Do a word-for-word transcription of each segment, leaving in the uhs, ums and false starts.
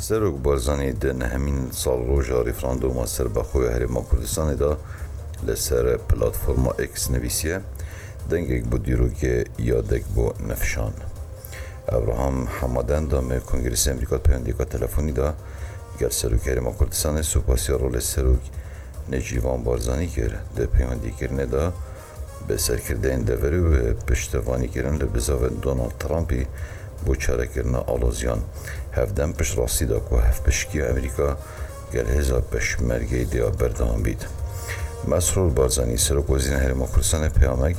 Serok Barzanî di nehemîn salroja referanduma serbexwe ya Herêma Kurdistanê de li ser platforma X nivîsiye, dengek bo dîrokê yadek bo nifşan. Ebraham Hemaden da me Kongresa Amerîka di peywendiyeka telefonî de gel Serokê Herêma Kurdistanê supasiya rolê Serok Necîvan Barzanî kir. Di peywendîkirinê de bi serkirdeyên deverê û bi piştevanîkirin li bizavên Donald Trumpî bo çarekirina aloziyan. Hevdem piştrastî da ku hevpişkiya Amerîka gel hêza Pêşmergeyê dê ya berdewam bît. Mesrûr Barzanî, Serokwezîrên Herêma Kurdistanê peyamek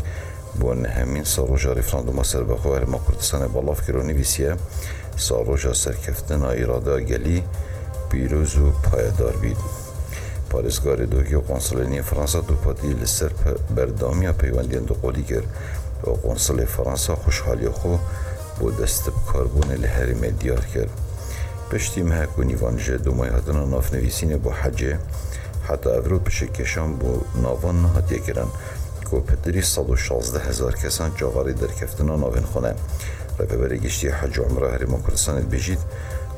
bo nehemîn salroja referanduma serbexwe Herêma Kurdistanê belav kir û nivîsiye, salroja serkeftina îradeya gelî pîroz û payedar bît. Parêzgarê Dogê û Konsulê Nîyê Fransa dupatî li ser pe-, berdewamiya peywendiyên duqolî kir û Konsulê Fransa xweşhaliya xwe bo destbikarbûnê li herêmê diyar kir. Piştî mehek û nîvan ji Dumayê hatina navnivîsînê bo hecê, heta evro pişikêşan bo navan nehatiye kirin ku pitirî sed û şazdeh hezar kesan çavarê derkeftina navên xwe ne. Rêveberê Giştî Hec û Umra Herêma Kurdistanê dibêjît,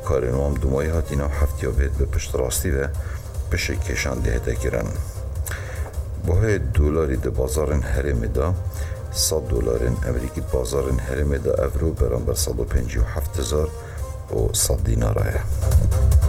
karên wan bi Dumayê hatî nav heftiya bêt bi piştrastî ve pişikêşan dihête kirin. Buhayê dolarî di bazarên herêmê de, sed dolarên Amerîkî di bazarên herêmê de evro beramber sed û pêncî û heft hezar û sed dînara ye.